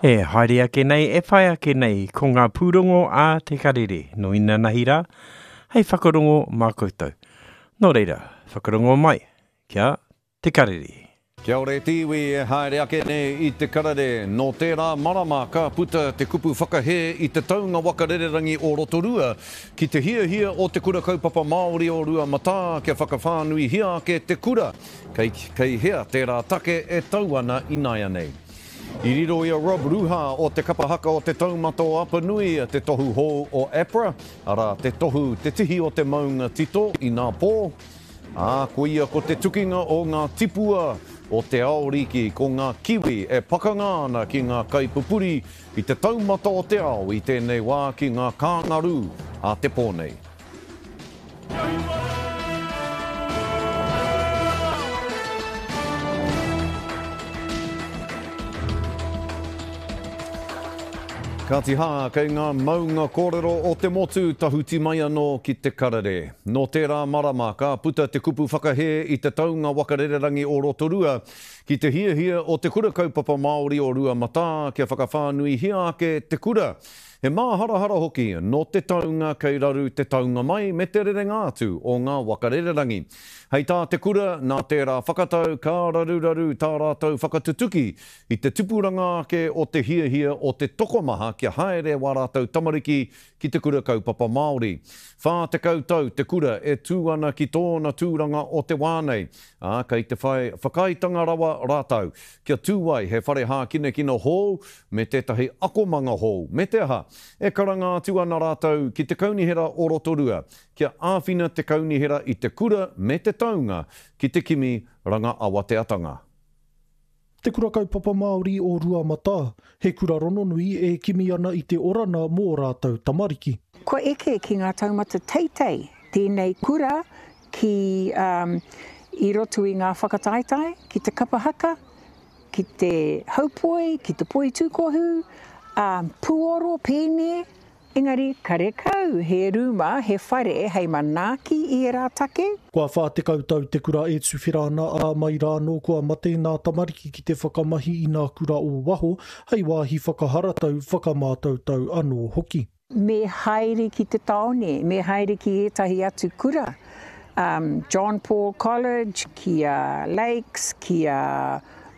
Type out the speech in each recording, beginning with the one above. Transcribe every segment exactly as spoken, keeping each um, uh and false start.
E haere ake nei, e whai ake nei, ko ngā pūrongo a Te Karere, no inanahi rā, hei whakarongo mā koutou. Nō reira, whakarongo mai, kia Te Karere. Kia ora e te iwi e haere ake nei i Te Karere. Nō tērā marama ka puta te kupu whakahē i te taunga waka rererangi o Rotorua ki te hiahia o te Kura Kaupapa Māori o Ruamatā kia whakawhānuihia ake te kura. Kei, kei hea tērā take e tau ana ināianei. I riro i a Rob Ruha o te kapa haka o te taumata o Apanui te tohu hou o APRA, arā te tohu te tihi o te maunga tito i nā pō. Ā, koia ko te tukinga o ngā tipua o te aoriki, ko ngā kiwi e pakanga ana ki ngā kaipupuri i te taumata o te ao i tēnei wā ki ngā kāngarū a te pō nei. Kāti hā, kei ngā maunga kōrero o te motu tahuti mai anō ki Te Karere. Nō tērā marama ka puta te kupu whakahē i te taunga waka rererangi o Rotorua ki te hiahia o te Kura Kaupapa Māori o Ruamatā kia whakawhānuihia ake te kura. He māharahara hoki nō te taunga kei raru te taunga mai me te rerenga atu o ngā waka rererangi. Hei tā te kura, nā tērā whakatau ka raruraru tā rātou whakatutuki i te tupuranga ake o te hiahia o te tokomaha kia haere wā rātou tamariki ki te Kura Kaupapa Māori. Whā tekau tau te kura e tū ana ki tōna tūranga o te wā nei, ā, kei te whai whakaaetanga rawa rātou kia tū ai he whare hākinakina hou me tētahi akomanga hou, me te aha, e karanga atu ana rātou ki te Kaunihera o Rotorua kia āwhina te kaunihera i te kura me te taunga ki te kimi ranga awateatanga. Te Kura Kaupapa Māori o Ruamatā, he kura rononui e kimi ana i te orana mō rātou tamariki. Kua eke ki ngā taumata teitei tēnei kura ki um, i roto i ngā whakataetae, ki te kapa haka, ki te haupoi, ki te poi tūkohu, um, puoro, pēne, engari karekau he rūma, he whare hei manaaki i ērā take. Kua whā tekau tau te kura e tuwhera ana, ā, mai rā anō kua mate nā tamariki ki te whakamahi i nā kura o waho hei wāhi whakaharatau, whakamātautau anō hoki. Me haere ki te tāone, me haere ki ētahi atu kura, um, John Paul College, ki a Lakes, ki a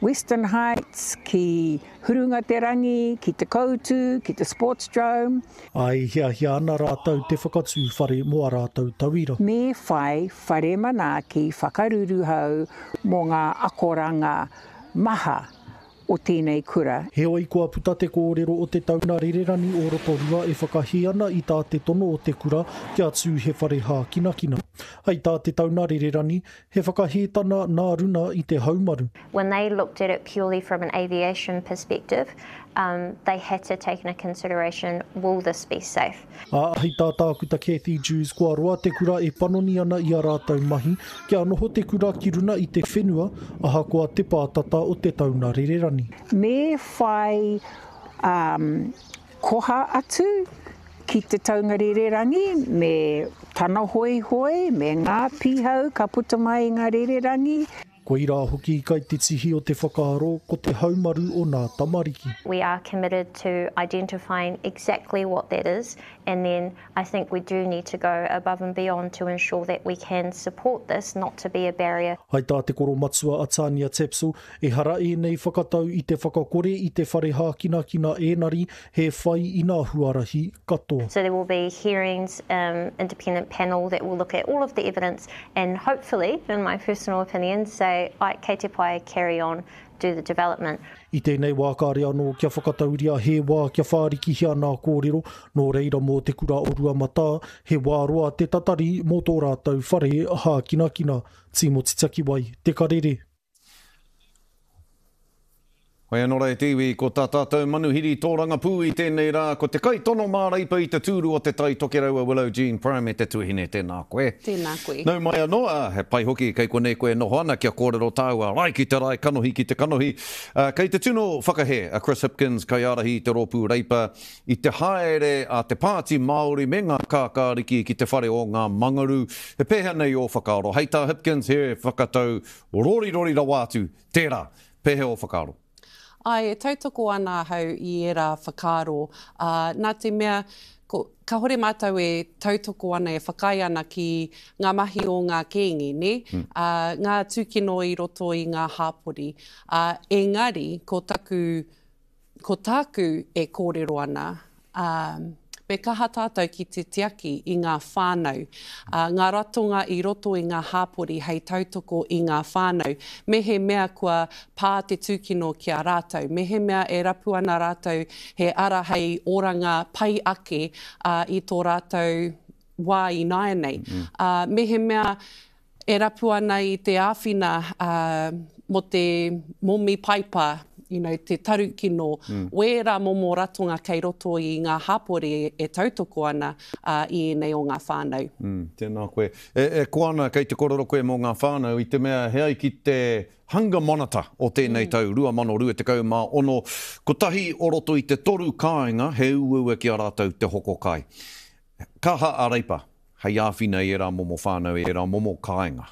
Western Heights, ki Hurunga Te Rangi, ki Te Koutu, ki te Sportsdrome. Ā, e hiahia ana rātou te whakatū whare mō ā rātou tauira. Me whai whare manaaki whakaruruhau mō ngā akoranga maha o tēnei kura. Heoi, kua puta te kōrero o te tauna rererani o Rotorua e whakahē ana i tā te tono o te kura kia tū he whare hākinakina. Hei tā te tauna rererani, he whakahētana nā runa i te haumaru. When they looked at it purely from an aviation perspective, um, they had to take into consideration, will this be safe? Ā, hei tā Tākuta Cathy Dewes, kua roa te kura e panoni ana i a rātou mahi kia noho te kura ki runa i te whenua, ahakoa te pātata o te tauna rererani. Me whai um, koha atu ki te taunga rererangi, me tana hoihoi, me ngā pihau ka puta mai i ngā rererangi. Koirā hoki kai te tihi o te whakaaro ko te haumaru o nā tamariki. We are committed to identifying exactly what that is, and then I think we do need to go above and beyond to ensure that we can support this, not to be a barrier. Hai tā te koromatua a Tania Tapsell, ehara ēnei whakatau i te whakakore i te whare hākinakina ēnari, he whai i nā huarahi katoa. So there will be hearings, um, independent panel that will look at all of the evidence and hopefully, in my personal opinion, say, ai, kei te pai, carry on, do the development. I tēnei wā kāre anō kia whakatauria he wā kia whārikihia nā kōrero, nō reira mō te kura o Ruamatā, he wā roa te tatari mō tō rātou whare hākinakina. Tīmoti Takiwai, Te Karere. Hoi anō rā e te iwi, ko tā tātou manuhiri tōrangapū i tēnei rā, ko te kaitono māreipa i te tūru o te Tai Tokerau a Willow Jean Prime e te tuahine, tēnā koe. Tēnā koe. Nau mai anō, ā, he pai hoki kei konei koe e noho ana kia kōrero tāua rae ki te rae, kanohi ki te kanohi. Ā, kei te tino whakahē a Chris Hipkins, kaiārahi i te rōpū Reipa, i te haere a te Pāti Māori me ngā kākāriki ki te whare o ngā Mangaru. He pēhea nei ō whakaaro? Hei tā Hipkins, he whakatau rorirori rawa atu tērā. Pēhea ō whakaaro? Ai, e tautoko ana ahau i ērā whakaaro, ā, nā te mea, ko, kāhore mātou e tautoko ana, e whakaae ana ki ngā mahi o ngā kēnge, nē? Mm. Ā, ngā tūkino i roto i ngā hāpori. Ā, engari, ko taku, ko tāku e kōrero ana, ā, me kaha tātou ki te tiaki i ngā whānau, ā, ngā ratonga i roto i ngā hāpori hei tautoko i ngā whānau, mehemea kua pā te tūkino ki a rātou, mehemea e rapu ana rātou he ara hei oranga pai ake ā, i tō rātou wā ināianei. Ā, mehemea e rapu ana i te āwhina ā, mō te momi paipa, you know, te tarukino, mm. wērā momo ratonga kei roto i ngā hāpori e tautoko ana uh, i ēnei o ngā whānau. Mm, tēnā koe. E, e koana kei te korero koe mō ngā whānau i te mea he ai ki te Hunger Monitor o tēnei mm. tau, rua mano rua tekau mā ono, kotahi o roto i te toru kāinga he uaua ki a rātou te hoko kai. Kaha a Reipa, hei āwhina i ērā momo whānau, i ērā momo kāinga.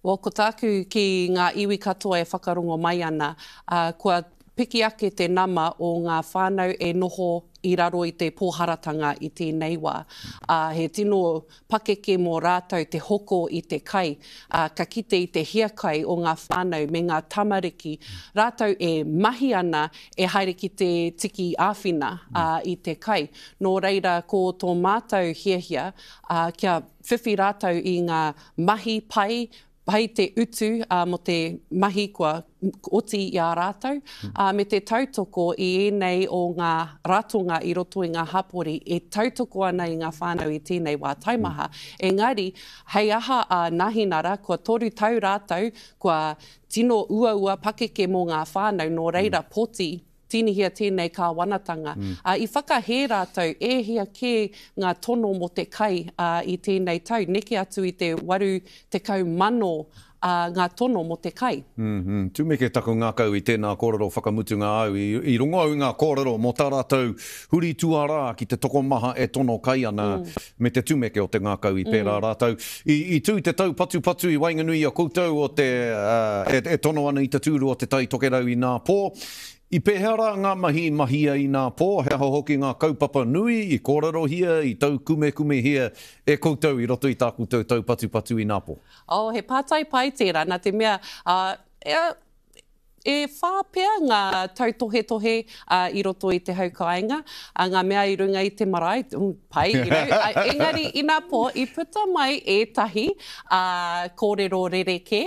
Well, ko tāku ki ngā iwi katoa e whakarongo mai ana, uh, kua piki ake te nama o ngā whānau e noho i raro i te pōharatanga i tēnei wā. Uh, he tino pakeke mō rātou te hoko i te kai, uh, ka kite i te hiakai o ngā whānau me ngā tamariki. Rātou e mahi ana e haere ki te tiki āwhina uh, i te kai. Nō reira ko tō mātou hiahia uh, kia whiwhi rātou i ngā mahi pai, pai te utu uh, mō te mahi kua oti i a rātou, uh, me te tautoko i ēnei o ngā ratonga i roto i ngā hapori e tautoko ana i ngā whānau i tēnei wā taimaha. Engari, hei aha a Nahinara, kua toru tau rātou, kua tino uaua pakeke mō ngā whānau, nō reira poti, tīnihia tēnei kāwanatanga. Mm. Uh, i whakahē rātou, e hia kē ngā tono mō te kai uh, i tēnei tau, neke atu i te waru tekau mano uh, ngā tono mō te kai. Mm -hmm. Tumeke taku ngākau i tēnā kōrero whakamutunga au, i, i rongo au i ngā kōrero mō tā rātou huri tuarā ki te tokomaha e tono kai ana mm. me te tumeke o te ngākau i pērā mm. rātou. I, i tū te tau patupatu i waenganui i a koutou o te, uh, e, e tono ana i te tūru o te Tai Tokerau i nā pō. I pēhea rā ngā mahi mahia i nā pō, he aha hoki ngā kaupapa nui i kōrerohia, i taukumekumehia e koutou i roto i tā koutou taupatupatu i nā pō? Oh, he pātai pai tērā, nā te mea, uh, e, e whā pea ngā tautohetohe uh, i roto i te hau kāinga, uh, ngā mea i runga i te marae, mm, pai, you know, uh, engari i nā pō, i puta mai ētahi uh, kōrero rerekē,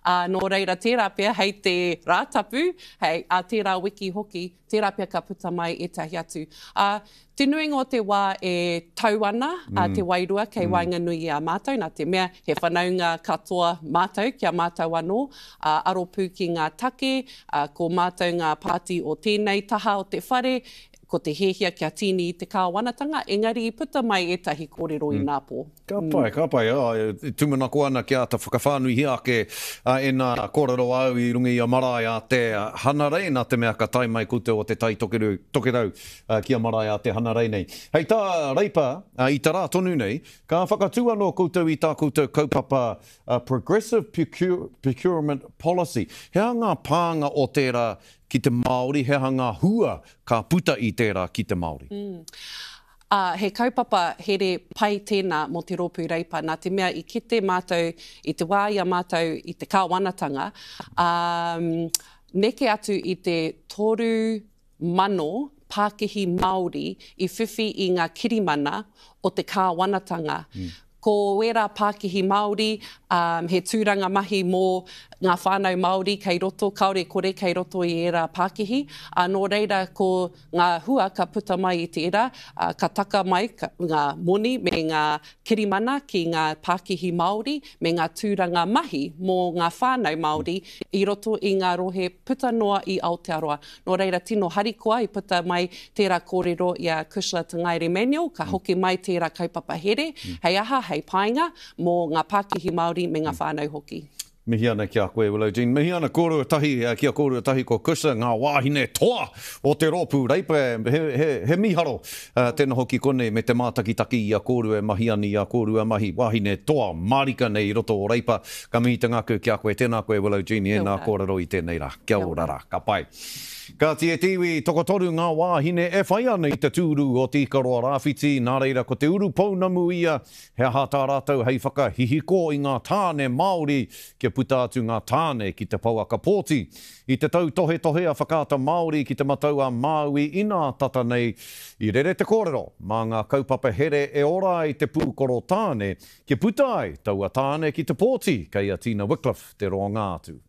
uh, nō reira tērā pea hei te Rātapu, hei a tērā wiki hoki, tērā pea ka puta mai ētahi atu. Uh, te nuinga o te wā e tau ana mm. uh, te wairua kei mm. waenganui i a mātou, nā te mea he whanaunga katoa mātou kia mātou anō, uh, aropū ki ngā take, uh, ko mātou ngā pāti o tēnei taha o te whare, ko te hiahia kia tīni i te kāwanatanga, engari i puta mai ētahi kōrero mm. i nā pō. Ka pai, mm. ka pai. Oh, tūmanako ana kia āta whakawhānuihia ake uh, e nā kōrero au i runga i a marae a te Hanarei, nā te mea ka tae mai koutou o te Tai Tokerau, Tokerau uh, ki a marae a te Hanarei nei. Hei tā Reipa, uh, i te rā tonu nei, ka whakatū anō koutou i tā koutou kaupapa uh, Progressive Procurement Policy. He aha ngā pānga o tērā ki te Māori, he aha ngā hua ka puta i tērā ki te Māori? Mm. Uh, he kaupapa here pai tēnā mō te rōpū Reipa, nā te mea i kite mātou i te wā i a mātou i te kāwanatanga, um, neke atu i te toru mano pākihi Māori i whiwhi i ngā kirimana o te kāwanatanga. Mm. Ko wērā pākihi Māori, um, he tūranga mahi mō ngā whānau Māori kei roto, kāore kore kei roto i ērā pākihi. Uh, nō reira ko ngā hua ka puta mai i tērā, uh, ka taka mai ka, ngā moni me ngā kirimana ki ngā pākihi Māori me ngā tūranga mahi mō ngā whānau Māori i roto i ngā rohe puta noa i Aotearoa. Nō reira tino harikoa i puta mai tērā kōrero i a Cushla Te Ngaere Manuel, ka hoki mai tērā kaupapa here, hei aha, hei painga mō ngā pākihi Māori me ngā whānau hoki. Mihi ana ki a koe, Willow Jean. Mihi ana kōrua tahi, ki a kōrua tahi ko Cushla, ngā wāhine toa o te rōpū Reipa. He, he, he miharo uh, tēnā hoki konei me te mātakitaki i a kōrua e mahi ana i a kōrua mahi. Wāhine toa mārika nei i roto o Reipa. Ka mihi te ngākau ki a koe. Tēnā koe, Willow Jean, i ēnā kōrero i tēnei rā. Kia ora rā. Ka pai. Kāti e te iwi, tokotoru ngā wāhine e whai ana i te tūru o Te Ikaroa Rāwhiti, nā reira ko te urupounamu ia, he aha tā rātou hei whakahihiko i ngā tāne Māori kia puta atu ngā tāne ki te pouaka pōti. I te tautohetohe a Whakaata Māori ki Te Matau a Māui inā tata nei, i rere te kōrero mā ngā kaupapa here e ora ai te pūkoro tāne kia puta ai taua tāne ki te pōti, kei a Tina Wickliffe te roanga atu.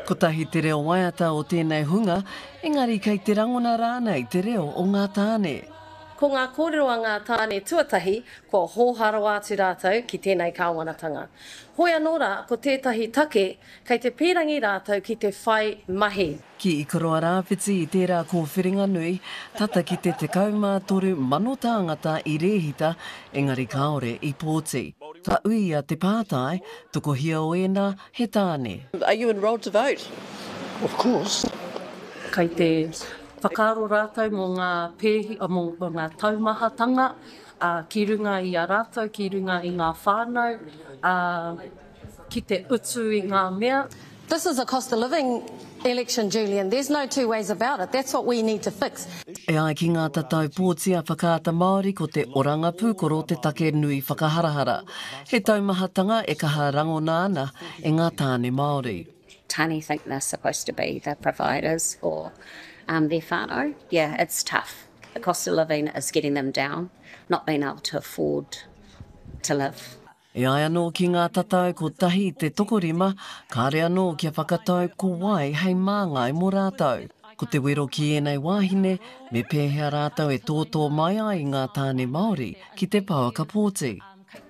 Kotahi te reo waiata o tēnei hunga, engari kei te rangona rānei te reo o ngā tāne. Ko ngā kōrero a ngā tāne tuatahi, kua hōhā rawa atu rātou ki tēnei kāwanatanga. Hoi anō rā, ko tētahi take, kei te pīrangi rātou ki te whai mahi. Ki Ikaroa Rāwhiti i tērā kōwhiringa nui, tata ki te tekau mā toru mano tāngata i rēhita, engari kāore i pōti. Ka uia te pātai, tokohia o ēnā he tāne. Are you enrolled to vote? Of course. Kei te whakaaro rātou mō ngā pēhi, mō ngā taumahatanga ki runga i a rātou, ki runga i ngā whānau, ki te utu i ngā mea. This is a cost of living election, Julian. There's no two ways about it. That's what we need to fix. E ai ki ngā tatau pōti a Whakaata Māori ko te oranga pūkoro te take nui whakaharahara. He taumahatanga e kaha rangona ana e ngā tāne Māori. Tāne think they're supposed to be the providers for um, their whānau. Yeah, it's tough. The cost of living is getting them down, not being able to afford to live. E ai anō ki ngā tatau kotahi te tokorima, kāre anō kia whakatau ko wai hei māngai mō rātou. Ko te wero ki ēnei wāhine, me pēhea rātou e tōtō mai ai i ngā tāne Māori ki te pouaka pōti.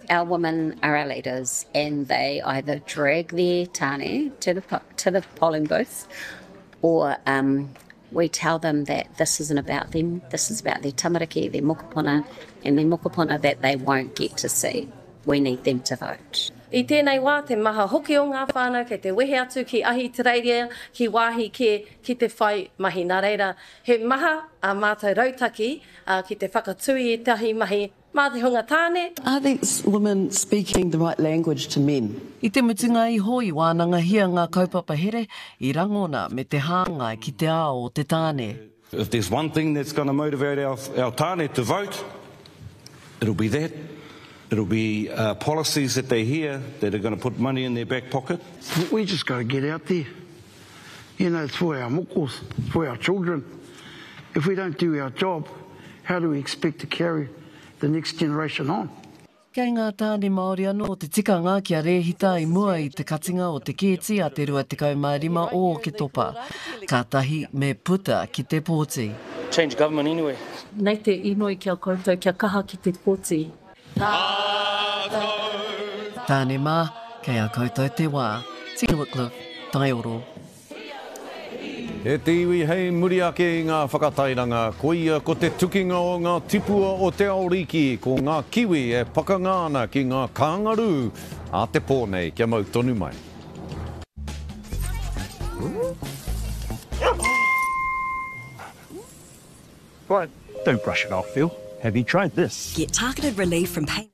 Our women are our leaders and they either drag their tāne to the, to the polling booth or um, we tell them that this isn't about them, this is about their tamariki, their mokopuna, and their mokopuna that they won't get to see. We need them to vote. I tēnei wā, te maha hoki o ngā whānau kei te wehe atu ki Ahitereiria, ki wāhi kē, ki te whai mahi. Nā reira, he maha a mātou rautaki ki te whakatū i ētahi mahi mā te hunga tāne. Are these women speaking the right language to men? I te mutunga iho i wānangahia ngā kaupapa here i rangona me te hāngai ki te ao o te tāne. If there's one thing that's gonna motivate our, our tāne to vote, it'll be that. It'll be uh, policies that they hear that are gonna put money in their back pocket. We just gotta get out there. You know, it's for our mokos, it's for our children. If we don't do our job, how do we expect to carry the next generation on? Kei ngā tāne Māori anō te tikanga kia rēhita i mua i te katinga o te kēti a te rua tekau mā rima o Oketopa. Kātahi me puta ki te pōti. Change government anyway. Nei te inoi ki a koutou kia kaha ki te pōti. Tāne mā, kei a koutou te wā. Tina Wickliffe, Taioro. E te iwi hei muri ake i ngā whakatairanga, koia ko te tukinga o ngā tipua o te Aoriki, ko ngā kiwi e pakanga ana ki ngā kāngarū a te pō nei, kia mau tonu mai. But don't brush it off, Phil. Have you tried this? Get targeted relief from pain.